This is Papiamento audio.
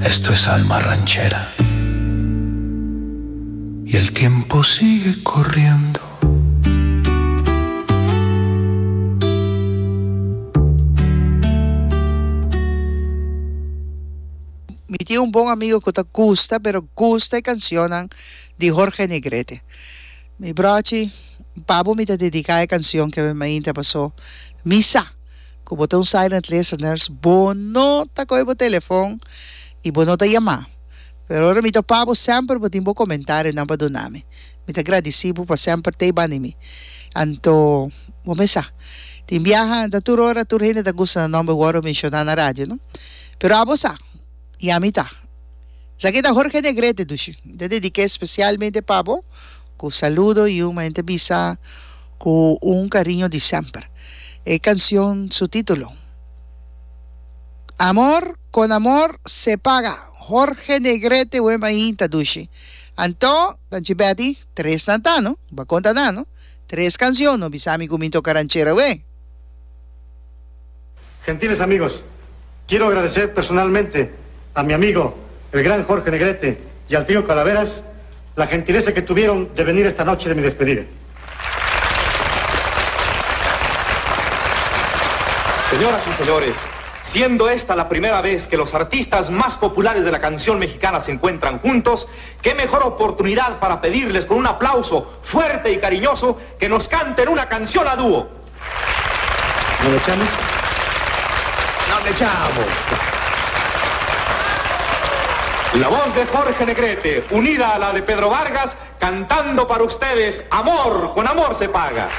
Esto es alma ranchera. Y el tiempo sigue corriendo. Mi tin un bon amigo cu ta gusta pero gusta e cancionnan di Jorge Negrete. Mi brochi, pa bo mi ta dedica e cancion ke mainta paso mi sa cu bo ta un silent listeners, bo no ta coge bo telefon y bo no ta yama. Pero ora mi topa bo semper bo tin bo comentarionan pa duna mi. Mi ta gradici bo pa semper ta e banda di mi. Anto bo mes sa, tin biaha ta tur ora tur hende ta gusta nan nomber worde menciona na radio no. Pero abo sa, y ami ta. Esaki ta Jorge Negrete dushi. Mi ta dediké spesialmente pa bo ku saludo y un manera ta bisa ku un kariño di semper. E kansion su título, Amor con amor se paga. Jorge Negrete wen mainta dushi. Anto, Tanchi Betty, tres nan ta no? Bo a konta nan no? Tres kansion, no bisa mi ku mi toka ranchera we. Gentiles amigos, quiero agradecer personalmente a mi amigo, el gran Jorge Negrete, y al tío Calaveras, la gentileza que tuvieron de venir esta noche de mi despedida. Señoras y señores, siendo esta la primera vez que los artistas más populares de la canción mexicana se encuentran juntos, qué mejor oportunidad para pedirles con un aplauso fuerte y cariñoso que nos canten una canción a dúo. ¿No le echamos? No le echamos. La voz de Jorge Negrete, unida a la de Pedro Vargas, cantando para ustedes, Amor, con amor se paga.